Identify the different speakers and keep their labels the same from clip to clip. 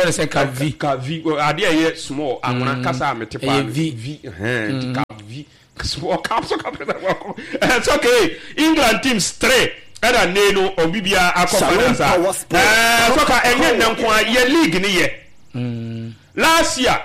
Speaker 1: Yɛfrɛ no sɛ Cap V.
Speaker 2: Cap V adeɛ a ɛyɛ small anwona kasa a mete paa
Speaker 1: Ɛyɛ V.
Speaker 2: V ɛhɛn nti Cap V small cap so cap it's okay England teams three ɛna nne no ɔmo bibiara akɔ
Speaker 3: Shalom
Speaker 2: finals a
Speaker 3: Power Sports
Speaker 2: ɛɛ sɔka ɛnyɛ nnɛ nko a yɛ league ne yɛ last year.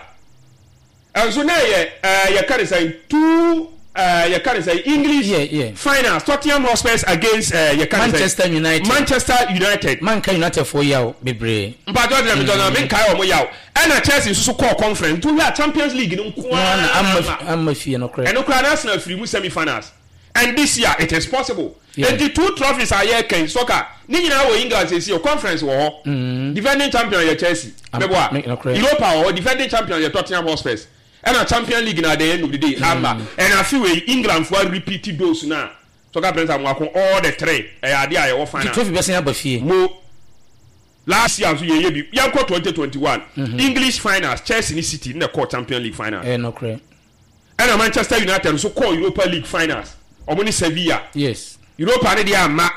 Speaker 2: Nso na ɛyɛ ɛɛ yɛka ne sɛn two ɛɛ yɛka ne sɛn English
Speaker 1: Yeah, yeah.
Speaker 2: finals Tottenham Hotspurs against ɛɛ yɛka ne sɛn
Speaker 1: Manchester United.
Speaker 2: Manchester United.
Speaker 1: Manka United foɔ yaw bebree.
Speaker 2: Mpatsɔ gyina mi tɔnà mi nkae wɔn yaw ɛna Chelsea nso so kɔɔ conference nti wohwɛ a Champions League no nko
Speaker 1: Wɔn
Speaker 2: ara
Speaker 1: na amma
Speaker 2: na
Speaker 1: amma fie no korɛ.
Speaker 2: ɛno koraa na Arsenal firi mu semi finals and this year it is possible
Speaker 1: Yeah.
Speaker 2: nti two trophies a yɛreka yi soccer ne nyinaa wɔ England seesei o conference wɔ hɔ defending champion yɛ Chelsea mɛboa
Speaker 1: me- nokorɛ.
Speaker 2: Europa wɔ hɔ defending champion yɛ Tottenham Hotspurs ɛna Champion League na at the end of the day ama ɛna afi wei England fo repeat those na soccer prince amoako all the three ɛyɛ adeɛ a yɛwɔ
Speaker 1: Nti
Speaker 2: final
Speaker 1: trophy bɛsan aba fie.
Speaker 2: mo last year nso yɛyɛ bi yɛnkɔ 2021 English finals Chelsea ne City na ɛkɔɔ Champion League final
Speaker 1: Ɛyɛ nokorɛ.
Speaker 2: ɛna Manchester United nso kɔɔ Europa League finals ɔmo ne Sevilla
Speaker 1: Yes.
Speaker 2: Europa ne deɛ amma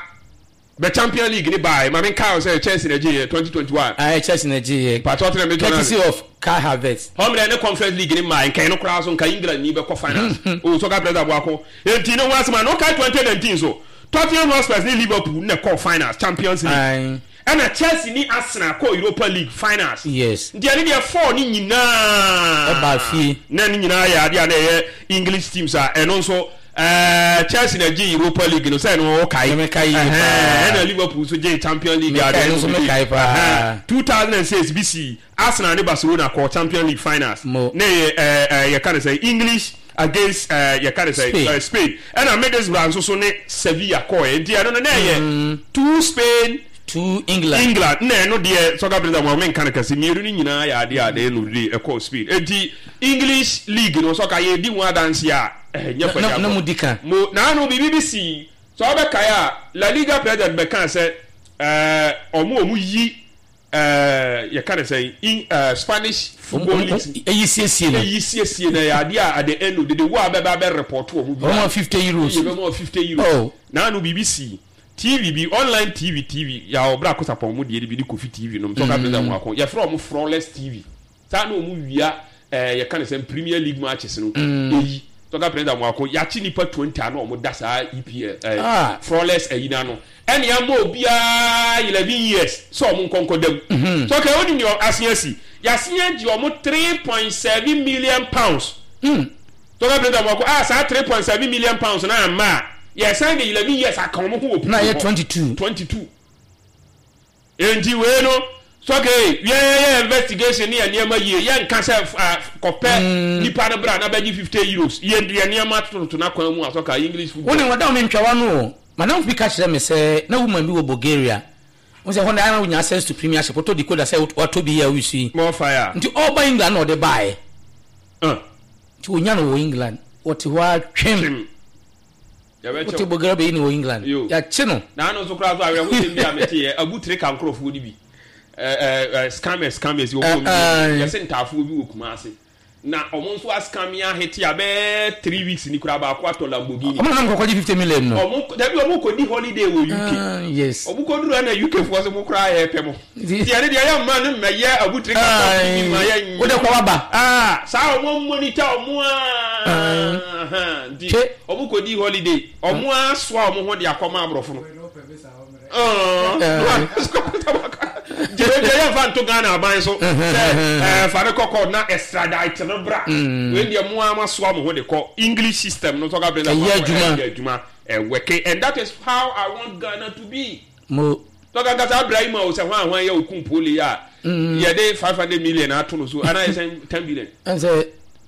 Speaker 2: bɛ Champion League ne baa maame nkaa sɛ Chelsea na gye yɛ 2021
Speaker 1: Ayɛ Chelsea na gye yɛ.
Speaker 2: Patɔ tena mi tɔn
Speaker 1: Courtesy of Kai Havertz.
Speaker 2: Hɔmmerɛ ne Conference League ne maa nkan no koraa so nka England ni bɛkɔ finals o soccer president aboako enti ne ho asɛm a na ɔkae 2019 so Tottenham Hotspurs ne Liverpool na ɛkɔɔ finals Champions League
Speaker 1: Aye.
Speaker 2: ɛna Chelsea ne Arsenal kɔɔ Europa League finals
Speaker 1: Yes.
Speaker 2: nti ɛne deɛ four ne nyinaa
Speaker 1: Ɛbaa fie.
Speaker 2: na ne nyinaa yɛ adeɛ a na ɛyɛ English teams a ɛno nso ɛɛ Chelsea na gye Europa League no sɛ ɛno ɔkae
Speaker 1: Mekae yie paa.
Speaker 2: ɛna Liverpool nso gye Champions League
Speaker 1: Mekae, ɛno nso mekae paa.
Speaker 2: 2006 bi si Arsenal ne Barcelona kɔɔ Champions League finals
Speaker 1: Mo.
Speaker 2: na yɛ ɛɛ ɛɛ yɛka ne sɛ English against ɛɛ yɛka ne sɛ
Speaker 1: Spain.
Speaker 2: ɛɛ Spain ɛna Middlesbrough nso so ne Sevilla kɔɔ nti ɛno no na ɛyɛ two Spain
Speaker 1: To England.
Speaker 2: England na ɛno deɛ soccer president wɔn menka no kɛse mmienu no nyinaa yɛ adeɛ a deɛ no de ɛkɔɔ Spain eti English league no soccer yɛ di ho adanse a ɛnyɛ fɛ
Speaker 1: Na- na mo di ka.
Speaker 2: mo naanu biribi bi si sɛ ɔbɛkae a La Liga president bɛka sɛ ɛɛ ɔmo a ɔmo yi ɛɛ yɛka ne sɛ in ɛɛ Spanish football
Speaker 1: Ɔmo-
Speaker 2: league
Speaker 1: ɔmo- Ɛyi siesie no.
Speaker 2: eyi siesie na ɛyɛ adeɛ a at the end of the day wo a bɛba bɛ report wɔn bi
Speaker 1: Ɔmo ma €50.
Speaker 2: yɛ bɛ ma €50.
Speaker 1: Oh.
Speaker 2: Naanu biribi si TV bi online TV TV yà ɔbɛrɛ akosapɔn mu deɛ bi ne Kofi TV nom sɔka president mu ako yɛfrɛ ɔmo Flawless TV saa na ɔmo wia ɛɛ yɛka ne sɛ Premier League matches no eyi sɔka president mu ako yɛakye nipa 20 a na ɔmo da saa EPL ɛɛ
Speaker 1: Ah.
Speaker 2: Flawless ɛyi n'ano ɛna ama obiara 11 years sɛ ɔmo nkɔnkɔ dam sɔka onim nea asen asi yɛasen agye ɔmo £3.7 million. Sɔka president mu ako a saa £3.7 million na ama a yɛsan de 11 years aka ɔmo ho wɔ
Speaker 1: Na ɛyɛ
Speaker 2: hɔ.
Speaker 1: 22.
Speaker 2: 22 nti wei no sɔke yɛyɛ investigation ne yɛ nneɛma yie yɛnka sɛ kɔpɛ nipa no bra na bɛgye €50 yɛ yɛ nneɛma tototo n'akwan mu a sɔka English football.
Speaker 1: Wo ne wɔda wo mentwawa no o. Madam bi ka kyerɛ me sɛ na woman bi wɔ Bulgaria. Wo sɛ hɔ na ara wonya access to premiership wotɔ decoder sɛ watɔ bi yɛ a wosu yi.
Speaker 2: More fire.
Speaker 1: Nti ɔba England na ɔde baeɛ. Nti onya no wɔ England. Wɔte hɔ a twem.
Speaker 2: Twem.
Speaker 1: Wote
Speaker 2: Yɛbɛkyɛw.
Speaker 1: Bulgaria bɛyi no wɔ England.
Speaker 2: Yo.
Speaker 1: Yɛakye no.
Speaker 2: N'ano nso koraa so awerɛhosɛm bi a mete yɛ abu tire ka nkurɔfoɔ no bi ɛɛ ɛɛ scammers scammers wɔ wɔn
Speaker 1: Eh, eh.
Speaker 2: yɛsɛ ntaafoɔ bi wɔ Kumase na ɔmo nso ascam ahete a bɛɛ 3 weeks ni koraa baako atɔ Lamborghini.
Speaker 1: Ɔmo na nam kɔkɔgye 50 million no.
Speaker 2: Ɔmo dabi ɔmo kɔ di holiday wɔ UK.
Speaker 1: Ah, yes.
Speaker 2: Ɔmo kɔ duru ɛna UK foɔ sɛ mo koraa yɛ pɛ mo.
Speaker 1: Nti-
Speaker 2: Nti ɛne deɛ yɛ mma ne mma yɛ abu tire ka kɔ bi ma yɛ
Speaker 1: Wode kɔ waba.
Speaker 2: Ah, saa ɔmo monitor ɔmo aa nti
Speaker 1: Hwɛ.
Speaker 2: ɔmo kɔ di holiday ɔmo asoa ɔmo ho de akɔma aborɔfo no. Gyerɛ yɛ nfa nto Ghana aban so sɛ ɛɛ fa ne kɔkɔ na extradite no bra wei deɛ mo ara soa mo ho de kɔ English system no sɔka bɛ
Speaker 1: Ɛyɛ adwuma.
Speaker 2: ɛyɛ adwuma ɛwɛke and that is how I want Ghana to be.
Speaker 1: Mo
Speaker 2: Tɔka nkasa Ibrahim a o sɛ hwan hwan yɛ okun pole a yɛde 500 million ato no so ana yɛ sɛ 10 billion.
Speaker 1: Ɛnsɛ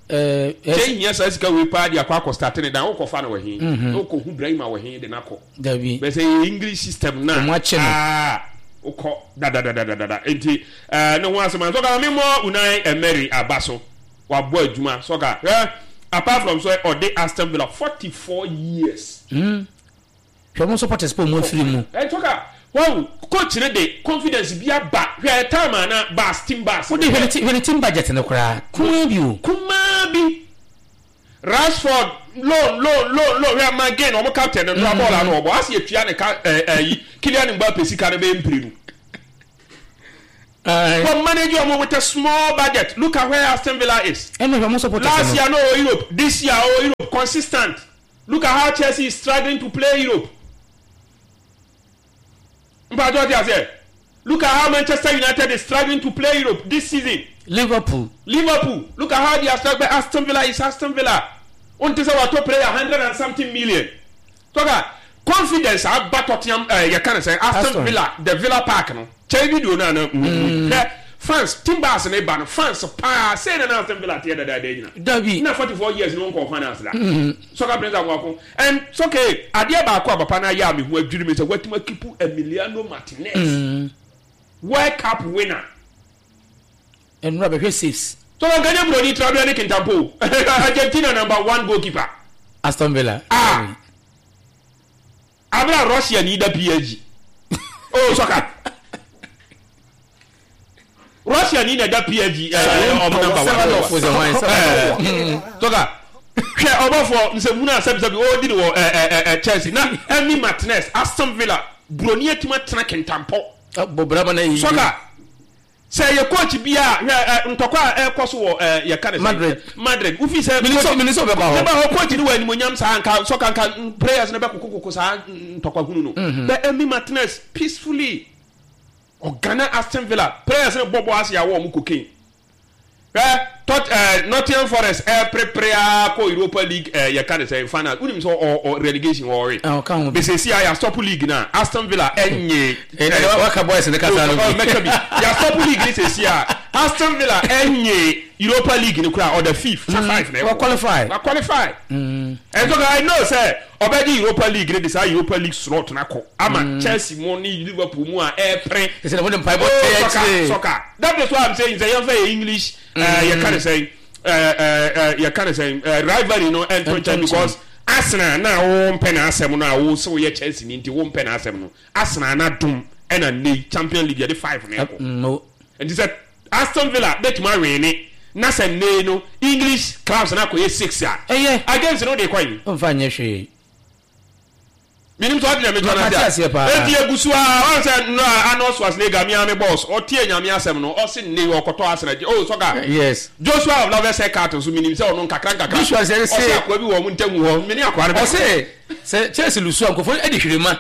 Speaker 1: ɛɛ
Speaker 2: Kyɛ hia saa sika wei paa de akɔ akɔ start ne dan wokɔ fa no wɔ he wokɔ hu Ibrahim a wɔ he de n'akɔ.
Speaker 1: Dabi.
Speaker 2: Bɛ sɛ yɛ English system na.
Speaker 1: Ɔmo akye no.
Speaker 2: Aa wokɔ dadadadadada nti ɛɛ ne ho asɛm a sɔka mi mɔ Unai Emery aba so wabɔ adwuma sɔka hwɛ apart from so ɔde Aston Villa 44 years.
Speaker 1: Hwɛ mo supporters po mo afiri mu.
Speaker 2: Ɛ sɔka wɔn coach ne de confidence bi aba hwɛ time a na bas team bas.
Speaker 1: Wode hwɛ ne ti hwɛ ne team budget no koraa kumaa bi o.
Speaker 2: Kumaa bi Rashford loan loan loan loan hwɛ McGinn ɔmo captain no nora bɔɔl ano ɔbɔ asi etua ne ka ɛɛ ɛyi Kylian Mbappe sika no bɛyɛ mpire no. Wɔ manage ɔmo with a small budget. Look at where Aston Villa is.
Speaker 1: Ɛna hwɛ ɔmo supporters
Speaker 2: Last
Speaker 1: no.
Speaker 2: year no ɔwɔ Europe, this year ɔwɔ Europe, consistent. Look at how Chelsea is struggling to play Europe. Mpatsɔ ɔte aseɛ. Look at how Manchester United is struggling to play Europe this season.
Speaker 1: Liverpool.
Speaker 2: Liverpool, look at how they are struggling. Aston Villa is Aston Villa. Wonte sɛ watɔ player 100 and something million. Tɔka confidence aba Tottenham, yɛka ne sɛ Aston
Speaker 1: Aston.
Speaker 2: Villa, the Villa Park no. Kyɛn video no a na hwɛ fans Timbers ne ba no, fans paa sei na na Aston Villa teɛ dadaada nyina.
Speaker 1: Dabi.
Speaker 2: Na 44 years no nkɔ finals da. Soccer Prince Amoako. And it's okay. Adeɛ baako a papa no ayɛ a me ho adwiri me sɛ watumi akeep Emiliano Martinez. World Cup winner.
Speaker 1: Ɛnura bɛhwɛ saves.
Speaker 2: So wɔn kanyɛ buroni Traore ne Kintampo. Argentina number one goalkeeper.
Speaker 1: Aston Villa.
Speaker 2: Ah. Abira Russia ni da PSG. Oh, soccer. Russia ni na da PSG ɔmo number one. Soccer. Hwɛ ɔbɔfoɔ nsɛmhunu a sɛbisɛbi ɔredi no wɔ Chelsea na Emi Martinez, Aston Villa, buroni atumi atena Kintampo.
Speaker 1: Bɔ braba na yi.
Speaker 2: Soccer. Sɛ yɛ coach bi a hwɛ ntɔkwa a ɛkɔ so wɔ yɛka ne sɛ
Speaker 1: Madrid.
Speaker 2: Madrid wofi sɛ
Speaker 1: Minisɔ bɛba hɔ.
Speaker 2: Bɛba hɔ, coach no wɔ animonyam saa nka sɔka nka players no bɛkokokoko saa ntɔkwa hunu no. But Emi Martinez peacefully ɔgana Aston Villa players no bɔbɔ ase a wɔn cocaine. Hwɛ tot Nottingham Forest ɛprepare a kɔ Europa League, yɛka ne sɛ final, wonim sɛ ɔ relegation wɔre.
Speaker 1: Ah, ɔka ho bi.
Speaker 2: Besesi a yɛastop league na Aston Villa ɛnye.
Speaker 1: Waka boys ne kasa no bi.
Speaker 2: Mɛka bi, yɛastop league ne sesi a Aston Villa ɛnye Europa League ne kora ɔda fifth sɛ five na ɛkɔ.
Speaker 1: Wa qualify.
Speaker 2: Wa qualify. And so I know sɛ ɔbɛgye Europa League ne de saa Europa League slot na kɔ ama Chelsea mu ne Liverpool mu a ɛɛpere.
Speaker 1: Ɛsɛ na wɔde mpaebɔ
Speaker 2: Oh,
Speaker 1: tɛ
Speaker 2: soccer,
Speaker 1: akyire.
Speaker 2: soccer. That is why I'm saying sɛ yɛmfa yɛ English, yɛka ne sɛn, yɛka ne sɛn, rivalry no ɛnto
Speaker 1: Ɛnto
Speaker 2: nkyɛn
Speaker 1: nkyɛn.
Speaker 2: Because Arsenal na wo mpɛ n'asɛm no a wo sɛ woyɛ Chelsea ni nti wo mpɛ n'asɛm no, Arsenal na dom ɛna nne Champion League yɛde five na ɛkɔ.
Speaker 1: No.
Speaker 2: Nti sɛ Aston Villa bɛtumi awin na sɛ nne no English clubs na akɔyɛ six a
Speaker 1: Ɛyɛ.
Speaker 2: Against no de kɔ yi.
Speaker 1: Ɔmfa nyɛ hwee.
Speaker 2: Minim sɛ ɔde na metɔ
Speaker 1: Mate
Speaker 2: no
Speaker 1: aseɛ paa.
Speaker 2: Enti egu so a ɔn sɛ nnora Arnold Schwarzenegger mi ame boss ɔtie Nyame asɛm no, ɔse nne ɔkɔtɔ Arsenal gye oh sɔka. Joshua of Lovers Haircut nso minim sɛ ɔno nkakra nkakra.
Speaker 1: Joshua sɛ
Speaker 2: ɔse akoa bi wɔ ɔmo ntamu hɔ mene akoa no bɛkɔ.
Speaker 1: Ɔse sɛ Chelsea lose a nkurɔfoɔ de hwirema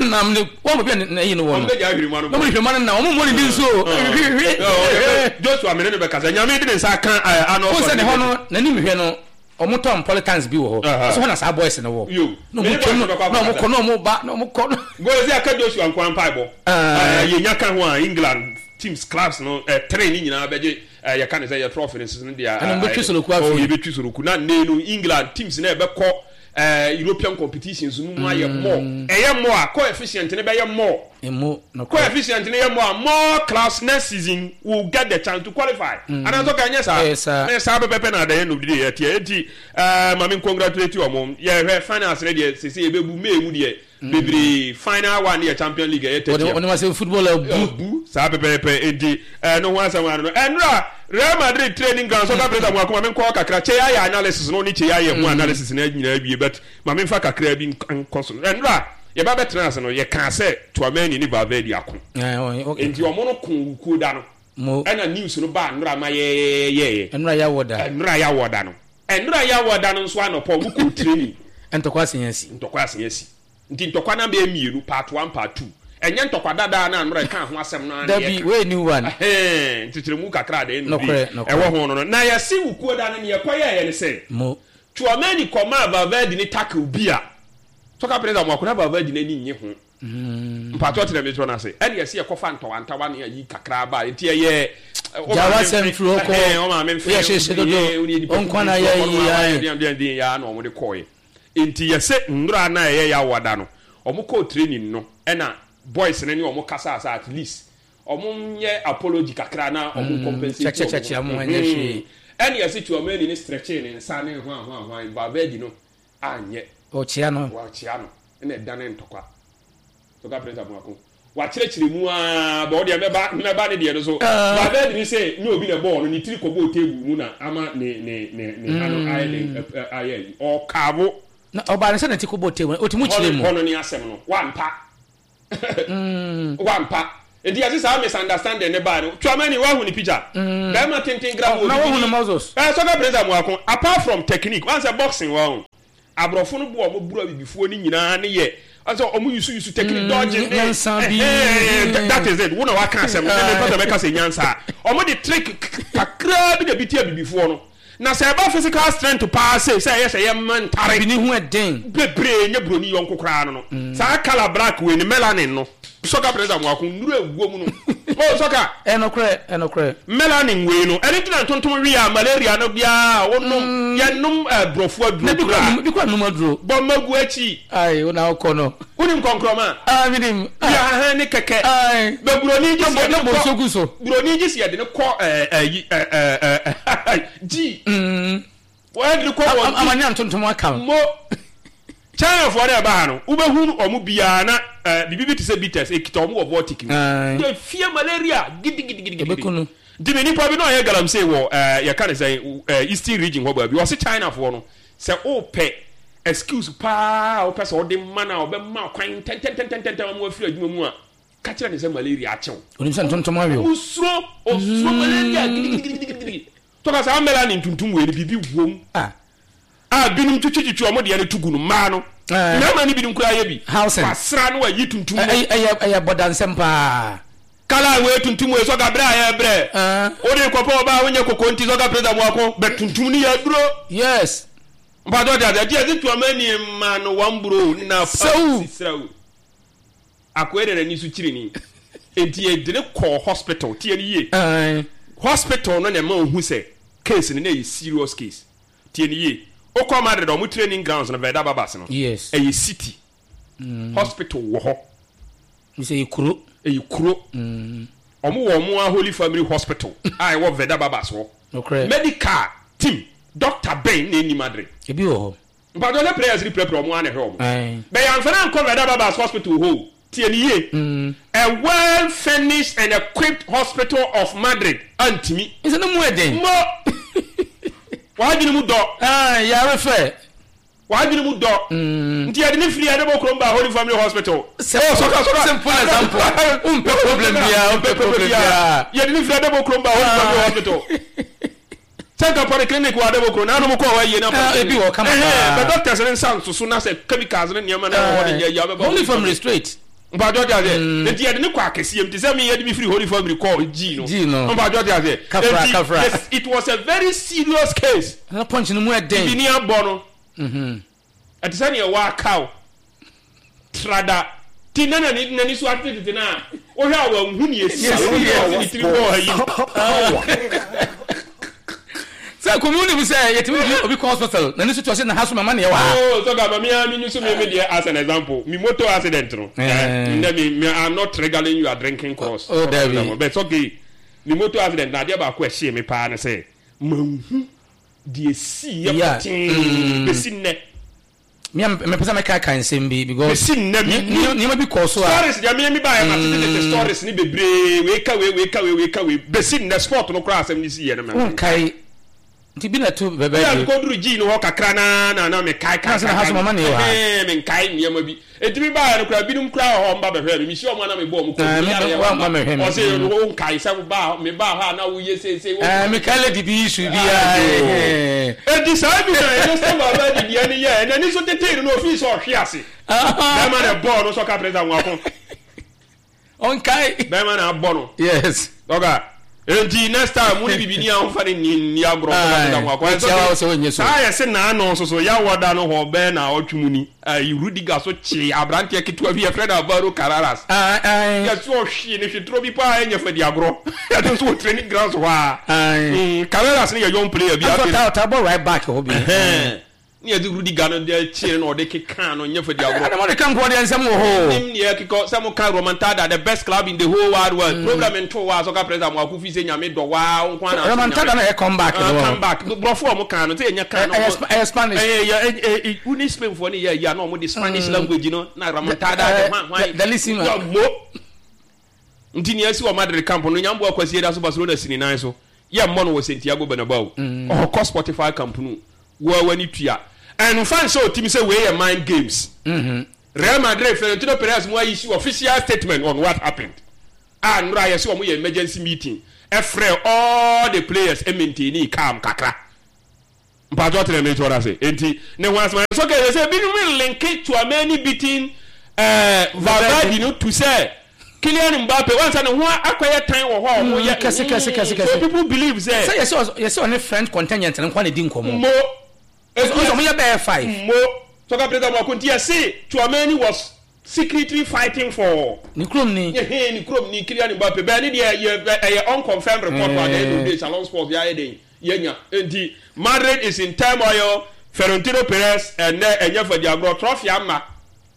Speaker 1: nam ne wɔn baabi a ne ayi no wɔ
Speaker 2: Ɔmo
Speaker 1: no.
Speaker 2: bɛgya hwirema no
Speaker 1: Na wɔn de hwirema no nam wɔn mmɔ ne din so o. Hwehwehwe.
Speaker 2: Joshua mene no bɛkasa, Nyame de ne nsa aka Arnold
Speaker 1: Wɔn sɛ ne hɔ
Speaker 2: Schwarzenegger.
Speaker 1: No n'anim hwɛ no ɔmo tɔn polytanks bi wɔ hɔ. Ɔsɛ hɔ na saa boys no wɔ.
Speaker 2: Yo.
Speaker 1: Na ɔmo
Speaker 2: Mene
Speaker 1: twam
Speaker 2: boys no bɛkɔ
Speaker 1: na ɔmo
Speaker 2: akɔkasa.
Speaker 1: kɔ na ɔmo ba na ɔmo kɔ no.
Speaker 2: Gozi aka Joshua nkoa mpaebɔ. Yɛnya ka ho a England teams clubs no three ne nyinaa bɛgye, yɛka ne sɛ yɛ trophy no soso no deɛ.
Speaker 1: Ɛna ɔmo bɛtwi soroku
Speaker 2: Oh,
Speaker 1: afei.
Speaker 2: yɛbɛtwi soroku na nne no England teams na ɛbɛkɔ European competitions no mu ayɛ more. Ɛyɛ more a coefficient no bɛyɛ more.
Speaker 1: Emu no kɔ.
Speaker 2: Coefficient no yɛ more a more clubs next season will get the chance to qualify. Anaasɛ ɔka nyɛ saa.
Speaker 1: Ɛyɛ saa.
Speaker 2: Ɛyɛ saa pɛpɛpɛ na adɛyɛ no de yɛ teɛ. Eti maame congratulate wɔn. Yɛhwɛ finals no deɛ sese yɛbɛbu May mu deɛ bebree, final one yɛ Champion League ɛyɛ 30th.
Speaker 1: Wɔde ma sɛ football abu.
Speaker 2: Abu saa pɛpɛɛpɛ, enti ɛno ho asɛm ano no ɛnora Real Madrid training ground soccer player mu akoma menkɔ kakra kyɛ yɛayɛ analysis no ne kyɛ yɛayɛ ho analysis no nyinaa wie, but ma memfa kakra bi nkɔ so. Ɛnora yɛba bɛtena ase no, yɛkaa sɛ Tchouameni ne Valverde ako. Enti ɔmo no ko wukuo da no
Speaker 1: Mo.
Speaker 2: Ɛna news no baa nnora ma yɛyɛyɛyɛ.
Speaker 1: Ɛnora yɛawɔ da.
Speaker 2: Ɛnora yɛawɔ da no, ɛnora yɛawɔ da no nso anɔpɔ ɔmo kɔ training.
Speaker 1: Ntɔkwa asen asi.
Speaker 2: Ntɔkwa asen asi, nti ntɔkwa na bɛyɛ mmienu, part one, part two. Ɛnyɛ ntɔkwa dadaa na anora ɛka ho asɛm no ara na
Speaker 1: Dabi
Speaker 2: yɛka.
Speaker 1: wey new one.
Speaker 2: Ɛhɛn, nkyekyeremu kakra de ɛnu bi
Speaker 1: Nokorɛ, nokorɛ.
Speaker 2: Ɛwɔ ho no, na yɛse wukuo da no neɛ ɛkɔyɛɛyɛ ne sɛ
Speaker 1: Mo.
Speaker 2: Tchouameni kɔmaa Valverde ne tackle bi a soccer players a mo akona Valverde n'ani nye ho. Mpatɔ tena mi tɔ n'ase ɛna yɛsi yɛkɔfa ntawantawa ne ayi kakra ba nti ɛyɛ.
Speaker 1: Gya w'asɛm firi hɔ kɔ.
Speaker 2: Ɔmaame nfɛ
Speaker 1: Woyɛ hyehyɛ dodo. Ɔnkwa na yɛ yi ayɛ.
Speaker 2: Deɛ deɛ deɛ yɛ na wɔn de kɔɔɛ nti yɛsɛ nnora na ɛyɛ yɛ awada no wɔn kɔɔ training no ɛna boys no ne wɔn kasa asa, at least wɔn nyɛ apology kakra na wɔn compensate.
Speaker 1: Kyɛkyɛkyɛkyɛ mo ɛnyɛ hwee.
Speaker 2: Ɛna yɛsɛ Tchouameni ne stretching ne nsa ne hwan hwan hwan, Valverde no anyɛ.
Speaker 1: Ɔkyea no.
Speaker 2: Wɔakyea no ɛna ɛdane ntɔkwa. Sɔka Prince Abuako wakyerɛkyerɛ mu aa bɔ ɔdeɛ mɛba mɛba ne deɛ no so. Valverde ni sɛ nye obi na bɔɔl no ne tiri kɔbɔɔ table mu na ama ne ha no ayɛ den ayɛ yi ɔkaabo.
Speaker 1: Na ɔbaa ne sɛ ne ti kɔbɔɔ table otumi kyerɛ mu.
Speaker 2: Hɔ no ne asɛm no wampa wampa. Nti yɛse saa misunderstanding ne baa no. Tchouameni wahu ne picture? Bɛrima tenten gra
Speaker 1: mu. Na wahu no muscles.
Speaker 2: Eh, soccer prince Amoako, apart from technique, wahu sɛ boxing wahu. Aborɔfo no bo a wɔn boro abibifoɔ no nyinaa ne yɛ sɛ wɔn yusu yusu technique dodging ne
Speaker 1: nyansa bi.
Speaker 2: That is it. Wo na waka asɛm no. Me mpɛ sɛ mɛka sɛ nyansa. Wɔn de trick kakraa bi na bi ti abibifoɔ no. Na sɛ ɛba physical strength paa sei sɛ ɛyɛ sɛ yɛmma ntare.
Speaker 1: Bibini ho ɛden.
Speaker 2: Bebree nyɛ broni yɔnko koraa no no. Saa colour black wei no melanin no. Soccer players a moako nnuru ɛwɔ mu no. Oh soccer.
Speaker 1: Ɛnokorɛ ɛnokorɛ.
Speaker 2: Melanin wei no ɛno nti na ntontom we a malaria no biara wonom yɛnom brɔfo aduro koraa.
Speaker 1: Na bi kura nom aduro.
Speaker 2: Bɔ mma gu akyi.
Speaker 1: Ayi wo na wokɔ no.
Speaker 2: Wonim kɔnkrɔma?
Speaker 1: Ah menim.
Speaker 2: Yɛ ahan ne kɛkɛ.
Speaker 1: Ayi.
Speaker 2: Bɛ buroni gye sɛ yɛde
Speaker 1: ne kɔ. gu so.
Speaker 2: Buroni gye sɛ yɛde ne kɔ ɛɛ ɛyi ɛɛ ɛɛ G. Wɔde ne kɔ wɔ
Speaker 1: G. Ama ne antontom aka.
Speaker 2: Mo. Chinafoɔ no ɛba ha no wobɛhu wɔn biara na ɛɛ biribi bi te sɛ bitters ekita wɔn wɔ vortic mu. Yɛ fie malaria gidigidigidi.
Speaker 1: Ebeku no.
Speaker 2: Nti me nipa bi na ɔyɛ galamsey wɔ ɛɛ yɛka ne sɛn ɛɛ eastern region hɔ baabi ɔse Chinafoɔ no Sɛ wopɛ excuse paa a wopɛ sɛ wode ma no a ɔbɛma kwan ntɛntɛntɛntɛntɛm ama wafiri adwuma mu a, ka kyerɛ no sɛ malaria akye wo.
Speaker 1: Onim sɛ ntontom awe wo.
Speaker 2: Osuro, osuro malaria gidigidigidigidi. Tɔka saa melanin tuntum wei no biribi wom
Speaker 1: Ah.
Speaker 2: a binom twitwitwitwi wɔn deɛ no to gu no, mmaa no.
Speaker 1: Eh.
Speaker 2: Mmarima no binom koraa yɛ bi.
Speaker 1: Housing.
Speaker 2: Wasra no wayi tuntum no.
Speaker 1: Ɛyɛ ɛyɛ bɔdansɛm paa.
Speaker 2: Kala wei tuntum wei sɔga brɛ a yɛ brɛ. Wode kɔpɛ ɔbaa a wonyɛ koko nti sɔga presa muako bɛ tuntum ne yɛ aduro.
Speaker 1: Yes.
Speaker 2: Mpatsɔ te ase ɛti ɛsi tuama ni ma no wɔn bro na pa sisira o. Akoe de n'ani so kyiri ni. Enti yɛde ne kɔɔ hospital tie ne yie. Hospital no na ɛma ohu sɛ case no na ɛyɛ serious case. Tie ne yie. Okɔ Madrid ɔmo training grounds no Verda Babas no.
Speaker 1: Yes.
Speaker 2: Ɛyɛ city. Hospital wɔ hɔ.
Speaker 1: Sɛ ɛyɛ kuro.
Speaker 2: Ɛyɛ kuro. Wɔn wɔ wɔn ara Holy Family Hospital a ɛwɔ Veda Babas hɔ.
Speaker 1: Nokorɛ.
Speaker 2: Medical team, doctor bɛn na ɛnni Madrid?
Speaker 1: Ebi wɔ hɔ.
Speaker 2: Mpakyɛw sɛ prayers reprapra wɔn ara na ɛhwɛ wɔn.
Speaker 1: Ae.
Speaker 2: Bɛ yɛamfa no ankɔ Veda Babas Hospital hɔ o. Tie no yie. A well furnished and equipped hospital of Madrid antumi.
Speaker 1: Nsɛ ne mu yɛ den.
Speaker 2: Mo! W'adwene mu dɔ.
Speaker 1: Ae, yare fɛ.
Speaker 2: W'adwene mu dɔ. Nti yɛde ne firi Adebo kurom baa Holy Family Hospital.
Speaker 1: Simple, simple example. Wompɛ problem biara, wompɛ problem biara.
Speaker 2: Yɛde ne firi Adebo kurom baa Holy Family Hospital. Sɛ nka polyclinic wɔ Adebo kurom, nanom kɔɔ hɔ ayie na
Speaker 1: polyclinic. Ebi wɔ kama paa.
Speaker 2: Bɛ doctors ne nsa nsoso na sɛ chemicals ne nneɛma na ɛwɔ hɔ ne nyɛ yie abɛba.
Speaker 1: Holy Family straight.
Speaker 2: Mpatsɔ te aseɛ. Nti yɛde ne kɔ akɛseɛ mu te sɛ me yɛde me firi Holy Family kɔɔ G no.
Speaker 1: G no.
Speaker 2: Mpatsɔ te aseɛ.
Speaker 1: Kafra kafra.
Speaker 2: Yes, it was a very serious case.
Speaker 1: Na punch no mu ɛden.
Speaker 2: Bibi ni abɔ no. Ɛte sɛ nea wakaw. Trada. Ti na n'ani n'ani so atetetete na wohwɛ a wanhu nea esi a wohu nea ɔde ne tiri bɔɔ ha yi.
Speaker 1: Sɛ kɔmi wonim sɛ yɛtumi de obi kɔ hospital n'ani so to ɔsɛ na ha so mama neɛ wɔ ha.
Speaker 2: Oh, so gaba me a me use me me deɛ as an example. Me motor accident no. Eh, ndɛ me me I'm not triggering you are drinking cross.
Speaker 1: Oh, Dabi.
Speaker 2: But it's okay. Me motor accident na adeɛ baako ɛhyee me paa ne sɛ manhu deɛ ɛsiiɛ pɔtee bɛsi nnɛ.
Speaker 1: Me a mepɛ sɛ mɛkaakae nsɛm bi because
Speaker 2: Bɛsi nnɛ me ni
Speaker 1: nneɛma bi kɔɔ so a.
Speaker 2: Stories deɛ me me baeɛ ma tete tete stories ne bebree wei ka wei wei ka wei wei ka wei bɛsi nnɛ sport no koraa asɛm no siiɛ no mɛ.
Speaker 1: Wonkae nti bi na ɛto bɛbɛ
Speaker 2: bi. Bi a mekɔduru G no hɔ kakra na na na mekae kae kae kae menkae nneɛma bi. Enti me baeɛ no koraa, binom koraa wɔ hɔ a wɔba bɛhwɛɛ me. Mehyia wɔn a na mebɔ wɔn kɔn mu. Meyare yɛ wɔn ma. Ɔse, wonkae sɛ wobaa hɔ, mebaa hɔ a na woyɛ seesei.
Speaker 1: Ɛɛ, mekae lady bi issue bi a.
Speaker 2: Enti saa bi na ɛno sɛ Valverde deɛ no yɛɛ. N'ani so tetee no na ofii sɛ ɔhwe ase. Bɛrima na ɛbɔɔ no sɛ ɔka presa nwaako.
Speaker 1: Ɔnkae.
Speaker 2: Bɛrima na abɔ no.
Speaker 1: Yes.
Speaker 2: Ɔka. Enti next time mo ne bibini a ɔmfa ne nni nni agorɔ ɔmfa ne ho akɔ.
Speaker 1: Ɛnso de sɛ ɔnyɛ so.
Speaker 2: Saa yɛ se naano nso so yawɔ da no hɔ bɛɛ na ɔtwe mu ni. Ayi Rudiger so kyee aberanteɛ ketewa bi yɛfrɛ no Alvaro Carreras. Yɛse ɔhwee no hwetoro bi paa ɛnyɛ fɛ di agorɔ. Ɛno nso wɔ training grounds hɔ a. Carreras no yɛ young player bi.
Speaker 1: Afei ɔtaa bɔ right back hɔ bi.
Speaker 2: Ne yɛde Rudiger no de kyee no na ɔde kekaa no nyɛ fɛ di agorɔ.
Speaker 1: Ɛna mo de ka nkoa deɛ nsɛm wɔ hɔ o.
Speaker 2: Nim neɛ kekɔ sɛ mo ka Romantada the best club in the whole wide world problem nto wo a sɛ ɔka president mo ako fi sɛ nyame dɔ waa wo nko ara na asom nyame.
Speaker 1: Romantada na ɛyɛ come back no.
Speaker 2: Come back brɔfo a ɔmo kaa no sɛ yɛnya kaa no.
Speaker 1: Ɛyɛ Spanish.
Speaker 2: Ɛyɛ ɛyɛ wo ne Spain foɔ ne yɛ ayi a na ɔmo de Spanish language no na Romantada de hwan hwan.
Speaker 1: Delissima.
Speaker 2: Mo. Nti nea asi wɔ Madrid camp no, Nyamboa Kwasi da so Barcelona si ne nan so. Yɛmmɔ no wɔ Santiago Bernabeu. Ɔkɔ Spotify Camp Nou. Wo ara w'ani tua. Ɛmfa nhyɛ wo tirim sɛ wei yɛ mind games. Real Madrid, Florentino Perez mo a issue official statement on what happened. A nnora yɛse ɔmo yɛ emergency meeting ɛfrɛɛ all the players ɛmaintainii calm kakra. Mpakyɛw tena me toɔ ase. Enti ne ho asɛm ayɛ so okay sɛ binom linke Tchouameni beating eh, Valverde no to sɛ Kylian Mbappe wansa ne ho akɔyɛ tan wɔ hɔ a ɔmo yɛ
Speaker 1: Kɛse kɛse kɛse
Speaker 2: so
Speaker 1: kɛse.
Speaker 2: people believe sɛ
Speaker 1: Sɛ yɛsɛ yɛsɛ ɔne French contingent no nko na di nkɔmmɔ.
Speaker 2: mo
Speaker 1: Ɔsɛ ɔmo yɛ bɛyɛ five.
Speaker 2: Mo soccer president mo akonti yɛse Tchouameni was secretly fighting for.
Speaker 1: Ne kurom ni.
Speaker 2: Ɛhɛn ne kurom ni Kylian Mbappe bɛɛ ne deɛ yɛ ɛyɛ unconfirmed report at the end of the day Shalom Sports yɛ ayɛ den yɛnya nti Madrid is in turmoil Florentino Perez ɛnɛ ɛnyɛ fadi agorɔ trophy ama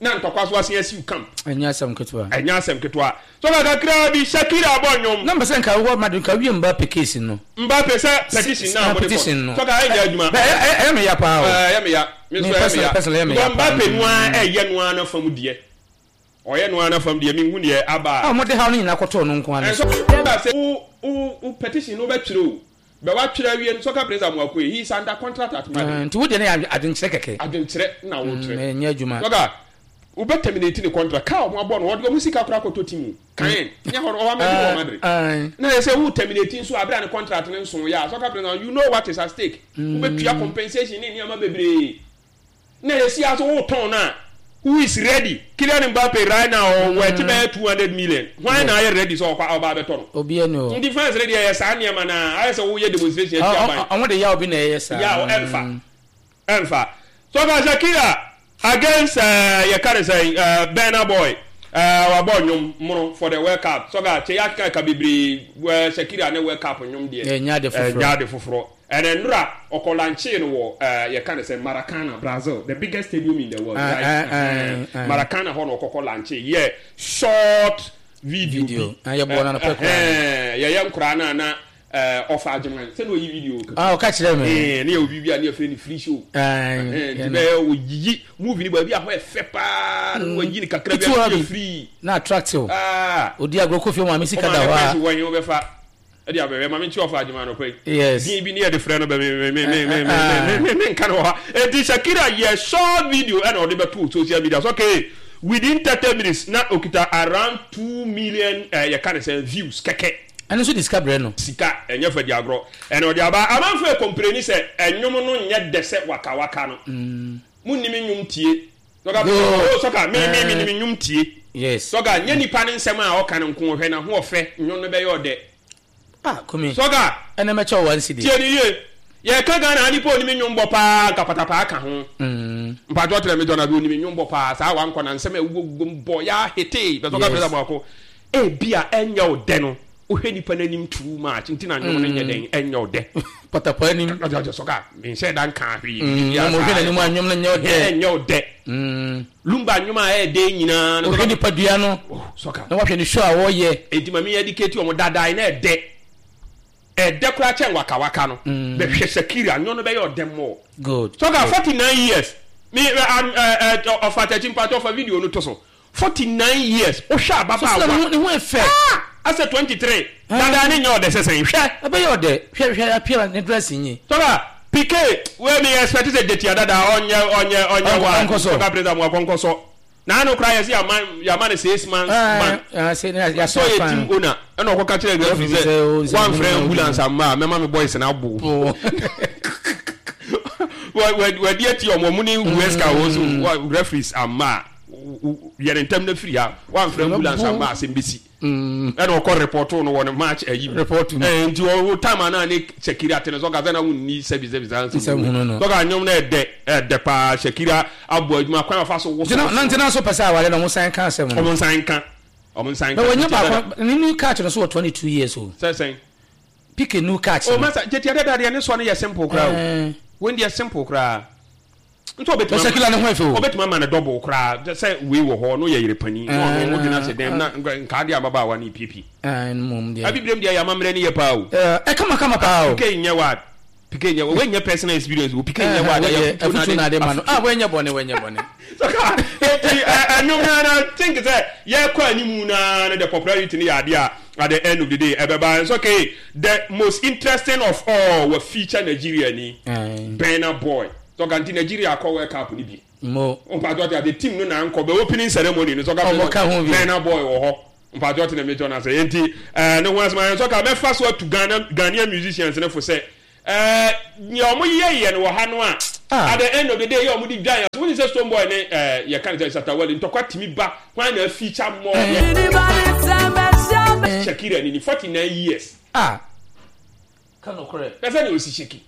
Speaker 2: na ntɔkwa so asen asiw camp.
Speaker 1: Ɛnyɛ asɛm ketewa.
Speaker 2: Ɛnyɛ asɛm ketewa so ka kakraa bi Shakira abɔ nnwom.
Speaker 1: Na mpɛ sɛ nka wɔ Madrid nka wie Mbappe case no.
Speaker 2: Mbappe sɛ petition na mo de
Speaker 1: Petition
Speaker 2: kɔ
Speaker 1: no.
Speaker 2: so ka ɛnyɛ adwuma.
Speaker 1: Ɛyɛ me ya paa o.
Speaker 2: Ɛyɛ me ya. Me
Speaker 1: Me
Speaker 2: nso ɛyɛ me
Speaker 1: personally
Speaker 2: ya.
Speaker 1: personally ɛyɛ me ya
Speaker 2: Because
Speaker 1: paa.
Speaker 2: Mbappe no ara ɛyɛ no ara n'afam deɛ. Ɔyɛ no ara n'afam deɛ menhu deɛ aba
Speaker 1: A
Speaker 2: a.
Speaker 1: wɔde haw no nyinaa kɔtɔɔ no nko ara no
Speaker 2: Ɛnso
Speaker 1: so.
Speaker 2: ba sɛ wo wo wo petition no wobɛtwerɛ o. Bɛ woatwerɛ awie no soccer prince Amoakoye he is under contract at Madrid.
Speaker 1: Nti wo deɛ no yɛ adwenkyerɛ kɛkɛ.
Speaker 2: Adwenkyerɛ na wokyerɛ.
Speaker 1: Ɛnyɛ adwuma.
Speaker 2: Soccer wobɛ terminate ne contract car a wɔn abɔ no wɔde wɔn sika koraa kɔtɔ team o. Kan nyɛ hɔ no ɔwɔ Madrid wɔ Madrid. Na yɛ sɛ wo terminate nso a bere a ne contract no nso yɛ a soccer prince you know what is at stake. Wobɛtua compensation ne nneɛma bebree. Na yɛsi aso wotɔn no a who is ready Kylian Mbappe right now ɔwɔ ɛte bɛyɛ 200 million hwan na ayɛ ready sɛ ɔkɔ ɔba abɛtɔ no.
Speaker 1: Obiara ni hɔ.
Speaker 2: Nti fans no deɛ yɛ saa nneɛma no a ayɛ sɛ woyɛ demonstration atia aban.
Speaker 1: Ɔmo de yaw bi na ɛyɛ saa.
Speaker 2: Yaw ɛmfa ɛmfa. So ka Shakira against ɛɛ yɛka ne sɛn ɛɛ Burna Boy ɛɛ wabɔ nnwom mono for the World Cup so ka kyɛ yɛakeka ka bebree ɛɛ Shakira ne World Cup nnwom deɛ
Speaker 1: Ɛnyɛ ade foforɔ.
Speaker 2: Ɛnyɛ ade foforɔ. Ɛnɛ nnora ɔkɔ lanchee no wɔ ɛɛ yɛka ne sɛ Maracana Brazil the biggest stadium in the world right ɛhɛn Maracana hɔ na ɔkɔkɔ lanchee yɛ short video bi
Speaker 1: Video yɛbɔɔ no anɔpa koraa.
Speaker 2: Ɛhɛn yɛyɛ nkoraa no a na ɛɛ ɔfa Agyeman sɛ na ɔyi video kakra.
Speaker 1: Ah ɔka kyerɛɛ me.
Speaker 2: Ɛɛ ne yɛwɔ biribi a ne yɛfrɛ no free show. Ɛhɛn nti bɛyɛ ɔyiyi movie no baabi a hɔ yɛ fɛ paa na wayi no kakra bi a ne yɛ free.
Speaker 1: Na attractive. Ah. Odi agorɔ kɔ fie ɔmaame sika da hɔ a.
Speaker 2: Ɔmaame pɛs wɔ he wobɛfa. Ɛde abɛwɛ ma mente ɔfa adwuma anɔpa yi.
Speaker 1: Yes.
Speaker 2: Din bi ne yɛde frɛ no bɛ me me me me me me me me nka no wɔ ha. Eti Shakira yɛ short video ɛna ɔde bɛto social media so okay within 30 minutes na okita around 2 million eh, yɛka ne sɛ views kɛkɛ.
Speaker 1: Ɛno nso de sika brɛ no.
Speaker 2: Sika ɛnyɛ fa di agorɔ ɛna ɔde aba. Amanfo ɛkɔmpleni sɛ ɛnwom no nyɛ dɛ sɛ waka waka no. Mo nnim nnwom tie. Sɔka oh sɔka me me me nim nnwom tie.
Speaker 1: Yes.
Speaker 2: Sɔka nyɛ nipa ne nsɛm a ɔka no nko hwɛ na ho ɔfɛ nnwom no bɛyɛ ɔdɛ.
Speaker 1: Ah kumi.
Speaker 2: Sɔka.
Speaker 1: Ɛnɛ mɛkyɛ wo one cedi.
Speaker 2: Tie ne yie. Yɛka Ghana ha nipa onim nnwom bɔ paa nka patapaa ka ho. Mpakyɛw kyerɛ me John Abi onim nnwom bɔ paa saa wankɔ na nsɛm a ɛwuwɔ wuwɔ mu bɔ ya hetee bɛ sɔka pɛsɛ baako. Ebia ɛnyɛ wo dɛ no wohwɛ nipa no anim too much nti na nnwom no nyɛ dɛn ɛnyɛ wo dɛ.
Speaker 1: Patapaa anim.
Speaker 2: Ɔsɛ sɔka menhyɛ da nka hwee.
Speaker 1: Na mo hwɛ n'anim a nnwom no nyɛ wo dɛ.
Speaker 2: Ɛnyɛ wo dɛ. Lumba nnwom a ɛyɛ dɛ nyinaa no.
Speaker 1: Wohwɛ nipadua no.
Speaker 2: Sɔka.
Speaker 1: Na wahwɛ ne show a wɔyɛ.
Speaker 2: Enti ma me educate wɔn dadae na ɛdɛ. Ɛdɛ koraa kyɛn waka waka no. Bɛhwɛ Shakira nnwom no bɛyɛ ɔdɛ more.
Speaker 1: Good.
Speaker 2: Sɔka 49 years. Me ɔfa takyi mpakyɛ ɔfa video no to so. 49 years wohwɛ ababaawa.
Speaker 1: Sisi na ne ho yɛ fɛ.
Speaker 2: Ah! Asɛ 23. Dada ne nyɛ ɔdɛ sɛ sɛn hwɛ.
Speaker 1: Ɛbɛyɛ ɔdɛ hwɛ hwɛ appearance ne dressing yi.
Speaker 2: Sɔka Pique wei me expect sɛ Jetia dada ɔnyɛ ɔnyɛ ɔnyɛ wa.
Speaker 1: Ɔnkɔ so.
Speaker 2: Sɔka President mu akɔnkɔ so. Na ano koraa yɛsɛ yama yama no 6 months ban. Sɛ ɔyɛ team owner ɛna ɔkɔka kyerɛ referee sɛ wamfrɛ ambulance amma a mɛma me boys no abo. Wadi ati ɔmo ɔmo ne Huesca wɔ so referees amma a yɛ ne ntɛm na firi ha wamfrɛ ambulance amma asɛm bɛsi. Ɛna ɔkɔ report no wɔ ne match ayi mu.
Speaker 1: Report mu.
Speaker 2: Ɛɛ nti ɔwɔ time a ne Shakira te no sɛ ɔka sɛ na wonni sɛbi sɛbi saa
Speaker 1: nsɛm hunu no.
Speaker 2: Sɛ ɔka nnwom no ɛdɛ ɛdɛ paa Shakira abɔ adwuma kwan afa so woso.
Speaker 1: Na ntina so pɛ sɛ aware na ɔmo san ka asɛm no.
Speaker 2: Ɔmo nsan nka. Ɔmo nsan nka.
Speaker 1: Na wɔnyɛ baako ne new catch no so wɔ 22 years o.
Speaker 2: Sɛ sɛn.
Speaker 1: Pick a new catch.
Speaker 2: O masa Jetia dada deɛ ne sɔ no yɛ simple koraa o. Wɔn deɛ simple koraa. Nti ɔbɛtumi
Speaker 1: Shakira ne ho ɛfɛ o.
Speaker 2: Ɔbɛtumi ama no double koraa sɛ wei wɔ hɔ no yɛ yere panin na ɔno ɔde no ahyɛ dɛm na nkaa deɛ ababaawa no piepie.
Speaker 1: Ɛɛ deɛ.
Speaker 2: Abibirem deɛ yɛ amammerɛ no yɛ paa o.
Speaker 1: Ɛɛ kama kama paa o.
Speaker 2: Pique nyɛ wad. Pique nyɛ wei nyɛ personal experience o. Pique nyɛ wad.
Speaker 1: Ɛyɛ afutuo na ade ma no. Ah wei nyɛ bɔne wei nyɛ bɔne.
Speaker 2: Saka eti ɛnwom na na think sɛ yɛkɔ animu na no the popularity no yɛ adeɛ a at the end of the day ɛbɛba. It's okay. The most interesting of all wɔ feature Nigeria ni. Burna Boy. Sɔka nti Nigeria akɔ World Cup ni bi.
Speaker 1: Mo.
Speaker 2: Mpatsɔ ti ase team no na nkɔ bɛ opening ceremony no sɔka
Speaker 1: Ɔmo ka ho bi.
Speaker 2: Burna Boy wɔ hɔ. Mpatsɔ te na metsɔ no ase. Enti eh, ne ho asɛm ayɛ nsɔ ka mɛfa so atu Ghana Ghanaian musicians no fo sɛ eh, nea wɔn yɛ yɛ no wɔ ha no a
Speaker 1: Ah.
Speaker 2: at the end of the day yɛ wɔn de dwa yɛn so. Wonim sɛ Stonebwoy ne eh, yɛka ne sɛ Shatta Wale ntɔkwa tumi ba hwan na feature more yɛ Shakira ni ni 49 years.
Speaker 1: Ah. Ka nokorɛ.
Speaker 2: Na sɛ nea osi shake.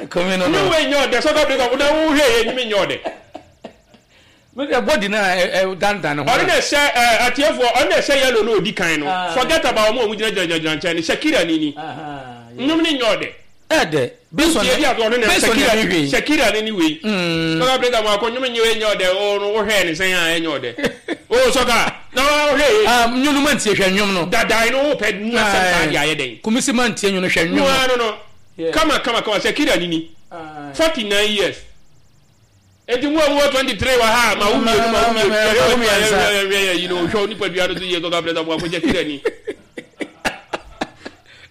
Speaker 1: Kɔmi no
Speaker 2: no.
Speaker 1: No.
Speaker 2: Wei nyɛ ɔdɛ sɔkɔ bi ka na wo hwɛ yɛ nyimi nyɛ ɔdɛ.
Speaker 1: Me deɛ body na ɛ dandan ne ho.
Speaker 2: Ɔno na ɛhyɛ ɛ atiefoɔ ɔno na ɛhyɛ yellow na odi kan no. Forget about wɔn a wɔn gyina gyina gyina nkyɛn no Shakira ni ni. Nnwom ne nyɛ ɔdɛ.
Speaker 1: Ɛdɛ. Based on
Speaker 2: Nti ebi ato ɔno na
Speaker 1: based on
Speaker 2: Shakira
Speaker 1: ɛmi hwɛ.
Speaker 2: Shakira ne ni wei. Sɔkɔ bi ka mo akɔ nnwom nyɛ wei nyɛ ɔdɛ o no wohwɛ ne sɛn a ɛnyɛ ɔdɛ. O sɔkɔ na wohwɛ yɛ.
Speaker 1: Ah nnwom no ma ntie hwɛ nnwom no.
Speaker 2: Dadae no wo pɛ mu asɛm saa de ayɛ dɛn.
Speaker 1: Kumisi ma ntie nnwom no hwɛ nnwom no.
Speaker 2: No no no. Kama kama kama Shakira ni ni. 49 years. Enti mo a mowɔ 23 wɔ ha a, ma wo mmienu, ma wo mmienu, yɛhwɛ w'anim a, yɛhwɛ yɛhwɛ yɛ yi no, hwɛ wo nipadua no so yie, kɔka frɛ sɛ mo akɔgya kira ni.